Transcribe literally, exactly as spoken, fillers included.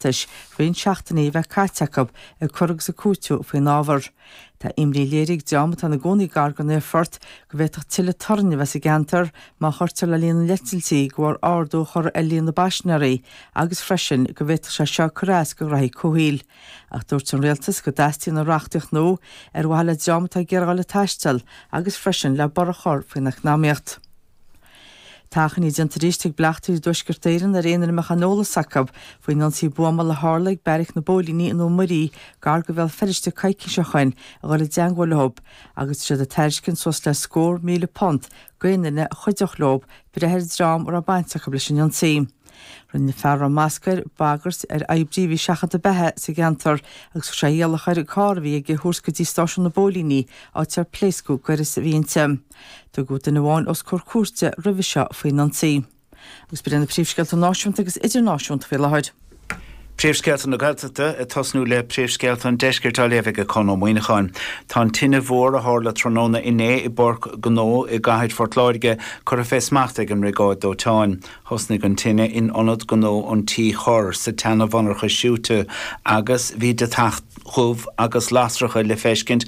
Oireachtais roinnt seachtainí a bheith caite acu ag cur agus ag cúiteamh faoin ábhar. Tá imní léirithe ag dream atá ina gcónaí gar don aerfort go bhféadfadh tuilleadh torainn a bheith sa gceantar má chuirtear le líon na n-eitiltí de bharr ardú a chur ar líon na bpaisinéirí agus freisin go bhféadfadh sé seo cur as do ghraithí comhshaoil. Ach dúirt an rialtas go dteastaíonn an reachtaíocht nua ar mhaithe le dream atá ag iarraidh a taisteal agus freisin le borradh a chur faoin eacnamaíocht. Tá achainí déanta arís ag bleachtairí i dTuaisceart Éireann ar aon duine a mbeadh aon eolas acu faoin ionsaí buamála a tharla ag beairic na bpóilíní i nDún Muirí gar do Bhéal Feirste coicís ó shin a dhul i dteagmháil leo agus tá siad ag tairiscint suas le scór míle punt d'aon duine a chuideodh leo breith ar dhream a raibh baint acu leis an ionsaí. Rinne fear a raibh masc air bagairt ar oibrí a bhí ag seachadadh beatha sa gceantar agus chuir sé iallach air an carr a bhí aige a thabhairt go dtí stáisiún na bpóilíní, áit ar pléascadh gaireas a bhí inti. Tugadh duine amháin os comhair cúirte roimhe seo faoin ionsaí. Agus b'in iad na príomhscéalta náisiúnta agus idirnáisiúnta faoi láthair. Príomhscéalta na Gaeltachta, ag tosnú le príomhscéalta an Deiscirt á léamh ag Conn Ó Muíneacháin. Tá an tine mhór a tharla tráthnóna inné i bpáirc gnó i gcathair Phort Láirge curtha fé smacht ag an mBriogáid Dóiteáin. Thosnaigh an tine in ionad gnó an Tí Chorr sa tseana-mhonarcha siúite agus bhí deatach dhubh agus lasracha le feiscint